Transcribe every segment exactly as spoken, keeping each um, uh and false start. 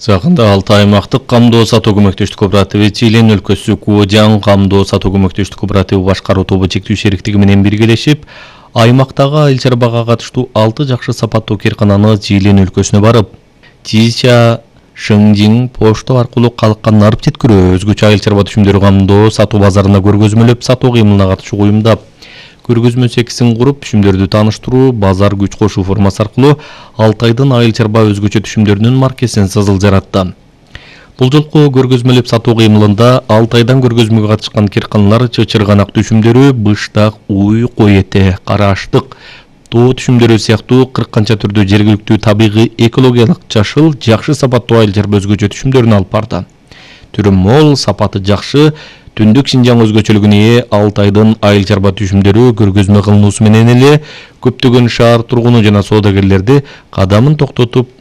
Жакында Алтай аймактык камдоо сатуу көмөктөштүк кооперативи Чилен өлкөсү Куожан камдоо сатуу көмөктөштүк кооперативи башкаруу тобу чектүү шериктиги менен биргелешип, аймактагы айыл чарбага катыштуу алты жакшы сапаттуу кыйркананы Чилен өлкөсүнө барып, Чича, Шыңжиң почта аркылуу калкка нарып жеткирүү, өзгөчө айыл чарба түшүмдөрү камдоо сатуу базарына көргөзмөлөп сатуу кыймылына катышууга уюмдап, көргөзмө секисин куруп, түшүмдөрдү тааныштыруу, базар күч кошуу формасы аркылуу Алтайдын айыл чарба өзгөчө түшүмдөрүнүн маркесин сызыл жаратты. Бул жолку көргөзмөлөп сатуу кыймылында Алтайдан көргөзмөгө катышкан кыйрканалар чычырганак түшүмдөрү, быштак, уй, кой эте, кара аштык, тоо түшүмдөрү сыяктуу кырк канча түрдүү жергиликтүү табигый экологиялык жашыл, жакшы сапаттуу айыл чарба өзгөчө түшүмдөрүн алып барды. Түрү мол, сапаты жакшы, түндүк Шинжаң өзгөчөлүгүнө ээ Алтайдын айыл чарба түшүмдөрү көргөзмө кылынуусу менен эле көптөгөн шаар тургуну жана соодагерлерди кадамын токтотуп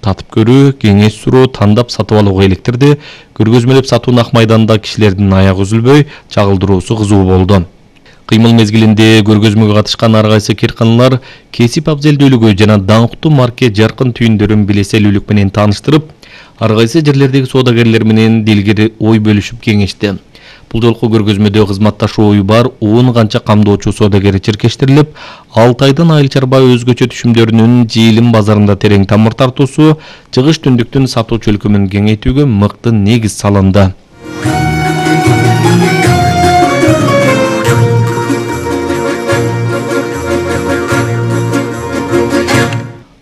татып көрүү, кеңеш суроо, тандап сатып алууга электирди. Көргөзмөлөп сатуун ак майданда кишилердин аягы үзүлбөй, чагылдыруусу кызуу болду. Кыймыл мезгилинде көргөзмөгө катышкан ар кайсы кыйрканалар кесип абзелдүүлүгү жана даңктуу марке жаркын түйүндөрүн билеселүүлүк менен тааныштырып, ар кайсы жерлердеги соодагерлер менен дилгири ой бөлүшүп кеңешти. Бул жолку көргөзмөдө кызматташуу ою бар он канча камдоочу соодагери чиркештирилип, Алтайдын айыл чарба өзгөчө түшүмдөрүнүн Жыйылым базарында терең тамыр тартуусу, чыгыш түндүктүн сатуу чөлкөмүн кеңейтүүгө мыкты негиз салынды.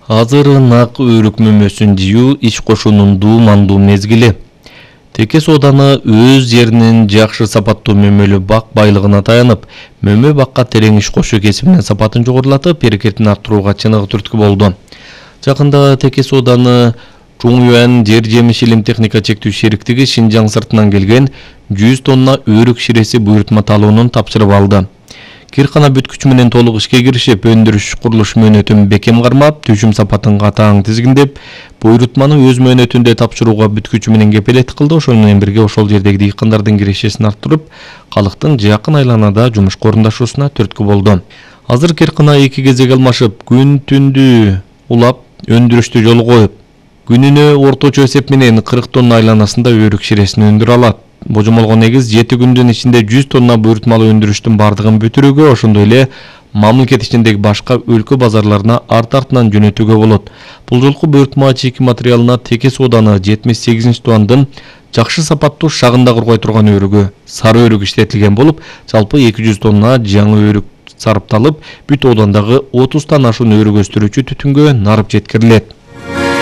Азыр нак өрүк мөмөсүн жыюу иш кошуунун дуумандуу мезгили. Теке сооданы өз жеринин жакшы сапаттуу мөмөлүү бак байлыгына таянып, мөмө бакка терең иш кошуу кесибинин сапатын жогорулатып, берекетин арттырууга чыныгы түрткү болду. Жакында теке сооданы Чуңюан жер жемиш илим техника чектүү шериктиги Шинжаң сыртынан келген жүз тонна өрүк ширеси буйрутма талоонун тапшырып алды. Кыйркана бүткүч менен толук ишке киришип, өндүрүш курулуш мөөнөтүн бекем кармап, түшүм сапатын катаң тизгиндеп, буйрутманы өз мөөнөтүндө тапшырууга бүткүчү менен кепилеттик кылды. Ошол менен бирге ошол жердеги дыйкандардын кирешесин арттырып, калктын жакын айланада жумушка орундашуусуна түрткү болду. Азыр кыйркана эки кезек алмашып, күн түндү улап, өндүрүштү жолго коюп, күнүнө орточо эсеп менен кырк тонна айланасында өрүк ширесин өндүрө алат. Божомолго негиз жети күндүн ичинде жүз тонна буйрутмалуу өндүрүштүн бардыгын бүтүрүүгө, ошондой эле мамлекет ичиндеги башка өлкө базарларына арт-артынан жөнөтүүгө болот. Бул жолку буйрутма чийки материалына теке сооданы жетимиш сегизинчи тубандын жакшы сапаттуу шагында кургай турган өрүгү, сары өрүк иштетилген болуп, жалпы эки жүз тонна жаңы өрүк сарыпталып, бүт оодандагы отуздан ашуун өрүк өстүрүүчү түтүнгө нарып жеткирилет.